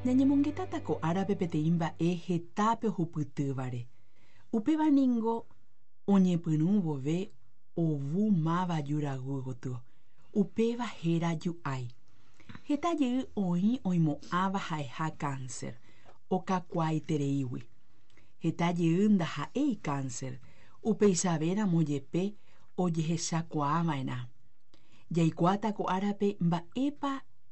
Ñañemongetáta ko árape peteĩ mba'e hetápe ohupytývare. Upéva ningo oñepyrũ vove ovu máva juraguy gotyo. Upéva héra ju'ái. Heta jey oĩ oimo'ãva ha'eha cáncer, okakuaaitereígui. Heta jey ndaha'éi cáncer, upeichavéramo jepe ojehechakuaava'erã. Jaikuaáta ko árape mba'épa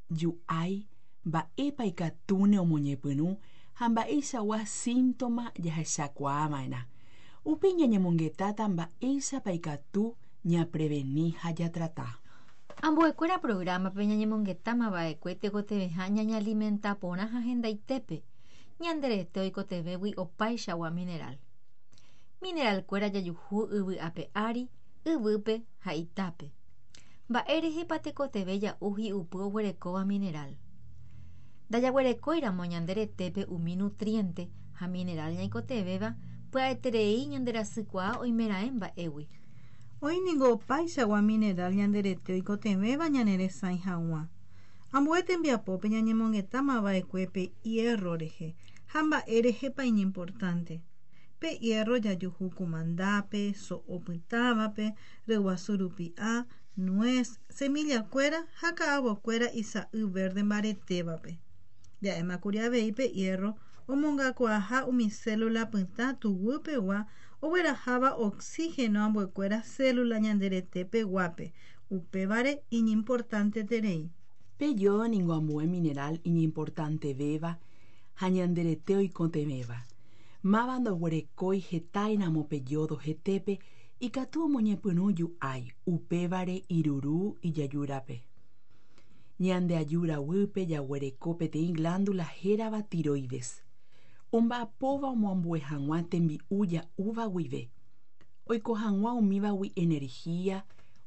ju'ái, mba'épa ikatúne omoñepyrũ ha mba'eichagua síntoma jahechakuaava'erã. Upéi ñañemongetáta mba'éichapa ikatu ñapreveni ha jatrata. Ambuekuéra programa-pe ñañemongetamava'ekue tekotevẽha ñañealimenta porã ha hendaitépe, ñande rete oikotevẽgui opaichagua mineral. Mineral-kuéra jajuhu yvy ape ári, yvýpe ha itápe. Mba'érehepa tekotevẽ ja'u hi'upy oguerekóva mineral? Ndajaguerekóiramo ñande retépe umi nutriente ha mineral ñaikotevẽva, pya'eterei ñanderasykuaa oimeraẽ mba'égui. Oĩ ningo opaichagua mineral ñande rete oikotevẽva ñaneresãi hag̃ua. Ambue tembiapópe ñañemongetamava'ekue pe hierro rehe ha mba'érehepa iñimportante. Pe hierro jajuhu kumandápe, so'o pytãvape, ryguasu rupi'a, nuez, semillakuéra ha ka'avokuéra isa'y verde mbaretévape. Ja'émakuri avei pe hierro omongakuaaha umi célula pytã tuguypegua ogueraháva oxígeno ambuekuéra célula ñande retepeguápe, upévare iñimportanteterei. Pe yodo ningo ambue mineral iñimportantevéva ha ñande rete oikotevẽva. Máva ndoguerekói hetáiramo pe yodo hetépe ikatu omoñepyrũ ju'ái, upévare iruru ijajúrape. Ñande ajúra guýpe jaguereko peteĩ glándula hérava tiroides. Omba'apóva omoambue hag̃ua tembi'u ja'úva guive. Oiko hag̃ua umívagui energía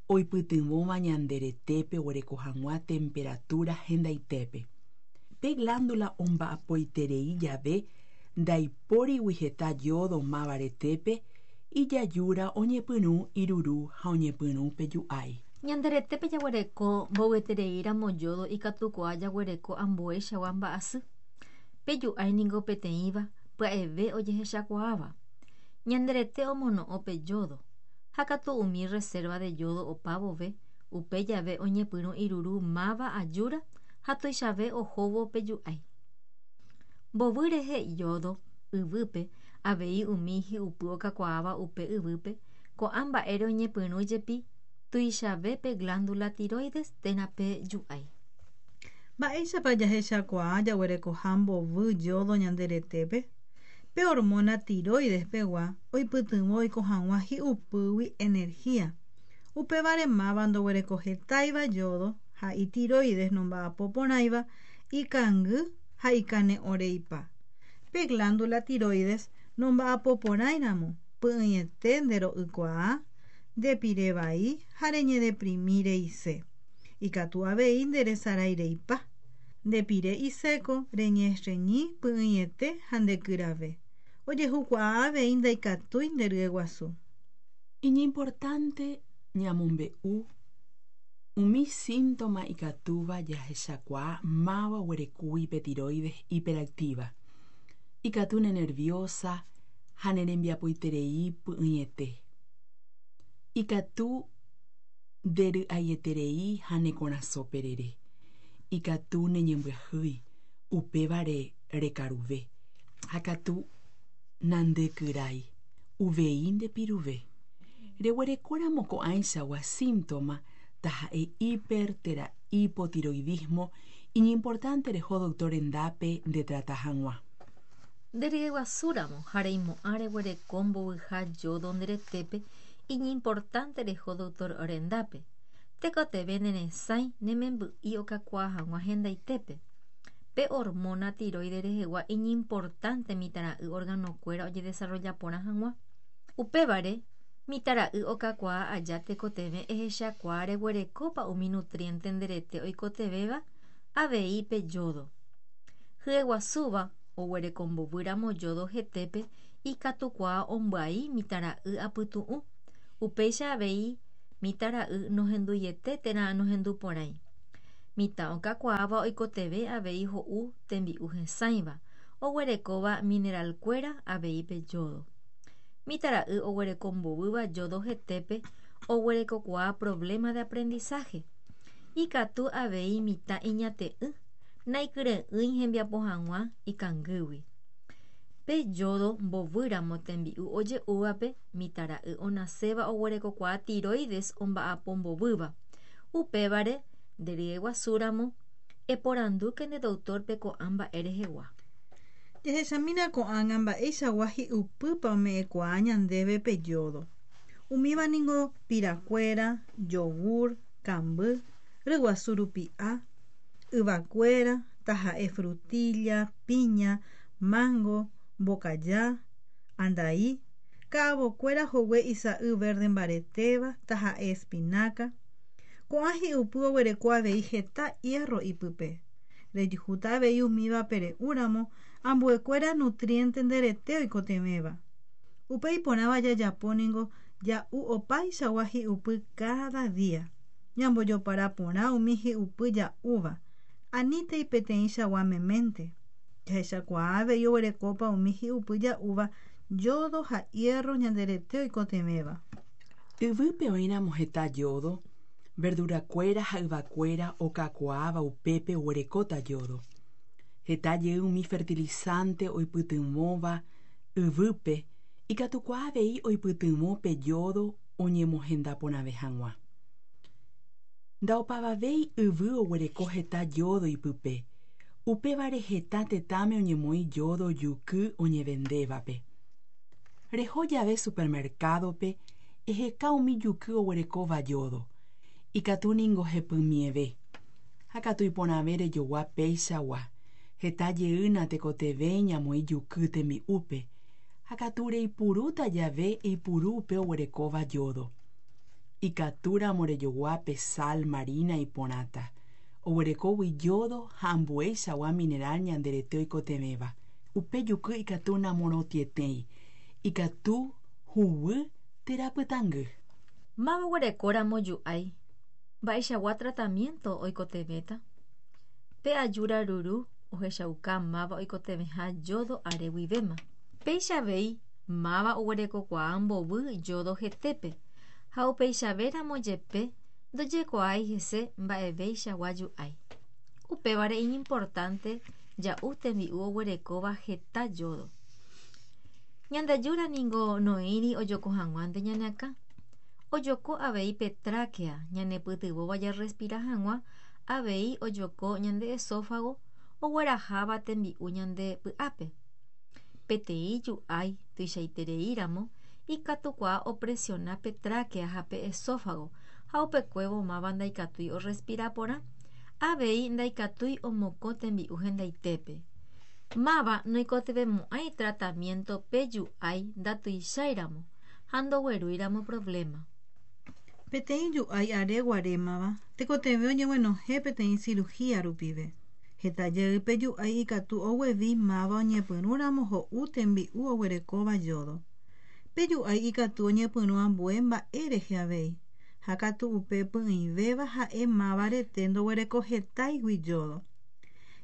oipytyvõva ñande retépe oguereko hag̃ua temperatura hendaitépe. Pe glándula omba'apoiterei jave ndaipórigui heta yodo máva retépe, ijajúra oñepyrũ iruru ha oñepyrũ pe ju'ái. Ñande retépe jaguereko mbovyetereíramo yodo ikatukuaa jaguereko ambueichagua mba'asy. Pe ju'ái ningo peteĩva pya'eve ojehechakuaáva. Ñande rete omono'õ pe yodo, ha katu umi reserva de yodo opa vove, upe jave oñepyrũ iruru máva ajúra ha tuichave ohóvo pe ju'ái. Mbovy rehe yodo yvýpe, avei umi hi'upy okakuaáva upe yvýpe, ko'ã mba'ére oñepyrũ jepi tuichave pe glándula tiroides térã pe ju'ái. Mba'éichapa jahechakuaa jaguerekoha mbovy yodo ñande retépe? Pe hormona tiroides pegua oipytyvõ oiko hag̃ua hi'upýgui energía. Upévare máva ndoguerekohetáiva yodo ha itiroides nomba'apoporãiva ikangy ha ikane'õreipa. Pe glándula tiroides nomba'apoporãiramo py'ỹiete ndero'ykuaa, ndepirevai ha reñedeprimireise. Ikatu avei nderesaraireipa. Ndepire iséko reñestreñi py'ỹiete ha ndekyrave. Ojehukuaa avei ndaikatúi nderyeguasu. Iñimportante ñamombe'u umi síntoma ikatúva jahechakuaa máva oguerekúgui pe tiroides hiperactiva. Ikatu nenerviosa ha nerembiapoiterei py'ỹiete. Ikatu ndery'aieterei ha ne korasõ perere. Ikatu neñembyahýi, upévare rekaruve. Ha katu nandekyrái, uvei ndepiruve. Reguerekóramo ko'ãichagua síntoma taha'e hiper térã hipotiroidismo iñimportante reho doctor rendápe ndetrata hag̃ua. Nderyeguasúramo ha reimo'ã reguereko mbovyha yodo nde retépe iñimportante reho doctor rendápe. Tekotevẽ neresãi nememby'i okakuaa hag̃ua hendaitépe. Pe hormona tiroides rehegua iñimportante mitãra'y organokuéra ojedesarrolla porã hag̃ua. Upévare, mitãra'y okakuaa aja tekotevẽ ehechakuaa reguerekópa umi nutriente nde rete oikotevẽva avei pe yodo. Hyeguasúva oguerekombovýramo yodo hetépe ikatukuaa ombyai mitãra'y apytu'ũ. Upéicha avei mitãra'y nohenduiete térã nohenduporãi. Mitã okakuaáva oikotevẽ avei ho'u tembi'u hesãiva, oguerekóva mineralkuéra avei pe yodo. Mitãra'y oguereko mbovýva yodo hetépe oguerekokuaa problema de aprendizaje. Ikatu avei mitã iñate'ỹ, naikyre'ỹi hembiapo hag̃ua ikangýgui. Pe yodo mbovýramo tembi'u oje'úvape mitãra'y onaséva oguerekokuaa tiroides omba'apo mbovýva. Upévare nderyeguasúramo eporandúke nde doctorpe ko'ã mba'e rehegua. Jahechamína ko'ág̃a mba'eichagua hi'upýpa ome'ẽkuaa ñandéve pe yodo. Umíva ningo pirakuéra, yogur, kamby, ryguasu rupi'a, yvakuéra, taha'e frutilla, piña, mango, mbokaja, andai, ka'avokuéra hogue isa'y verde mbaretéva, taha'e espinaca. Ko'ã hi'upy oguereko avei heta hierro ipype. Rejuhúta avei umíva pere'úramo ambuekuéra nutriente nderete oikotevẽva. Upe iporãva jajapo ningo ja'u opaichagua hi'upy cada día. Ñambojopara porã umi hi'upy ja'úva. Anítei peteĩchagua meménte. Jahechakuaa avei oguerekópa umi hi'upy ja'úva yodo ha hierro ñanderete oikotevẽva. Yvýpe oĩramo heta yodo, verdurakuéra ha yvakuéra okakuaáva upépe oguerekóta yodo. Heta jey umi fertilizante oipytyvõva yvýpe ikatukuaa avei oipytyvõ pe yodo oñemohenda porãve hag̃ua. Ndaopavavéi yvy oguereko heta yodo ipype, upévare heta tetãme oñemoĩ yodo juky oñevendévape. Reho jave supermercadope eheka umi juky oguerekóva yodo. Ikatu ningo hepymieve. Ha katu iporãve rejogua péichagua. Heta jeýna tekotevẽ ñamoĩ juky tembi'úpe. Ha katu reipurúta jave eipuru upe oguerekóva yodo. Ikatúramo rejogua pe sal marina iporãta. Oguerekógui yodo ha ambueichagua mineral ñanderete oikotevẽva. Upe juky ikatu namorotĩetéi. Ikatu huguy térã pytãngy. Máva oguerekóramo ju'ái, mba'eichagua tratamiento oikotevẽta? Pe ajúra ruru ohechauka máva oikotevẽha yodo are guivéma. Péicha avei máva oguerekokuaa mbovy yodo hetépe ha upeichavéramo jepe ndojekuaái hese mba'eveichagua ju'ái. Upévare iñimportante ja'u tembi'u oguerekóva heta yodo. Ñandajúra ningo noĩri ojoko hag̃uánte ñane akã. Ojoko avei pe tráquea ñanepytyvõva jarrespira hag̃ua avei ojoko ñande esófago ogueraháva tembi'u ñande py'ápe. Peteĩ ju'ái tuichaitereíramo ikatukuaa opresiona pe tráquea ha pe esófago ha upekuévo máva ndaikatúi orrespira porã, avei ndaikatúi omokõ tembi'u hendaitépe. Máva noikotevẽmo'ãi tratamiento pe ju'ái ndatuicháiramo ha ndoguerúiramo problema. Peteĩ ju'ái are guarémava tekotevẽ oñeguenohẽ peteĩ cirugía rupive. Heta jey pe ju'ái ikatu oguevi máva oñepyrũramo ho'u tembi'u oguerekóva yodo. Pe ju'ái ikatu oñepyrũ ambue mba'e rehe avei. Ha katu upe py'ỹivéva ha'e máva rete ndoguereko hetáigui yodo.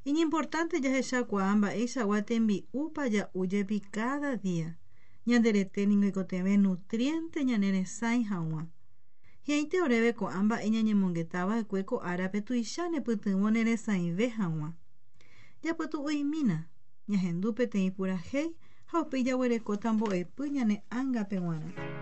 Iñimportante jahechakuaa mba'eichagua tembi'úpa ja'u jepi cada día. Ñanderete ningo oikotevẽ nutriente ñaneresãi hag̃ua. Hi'ãite oréve ko'ã mba'e ñañemongetava'ekue ko árape tuicha nepytyvõ neresãive hag̃ua. Japytu'uimína, ñahendu peteĩ purahéi ha upéi jaguerekóta mbo'epy ñane ángape g̃uarã.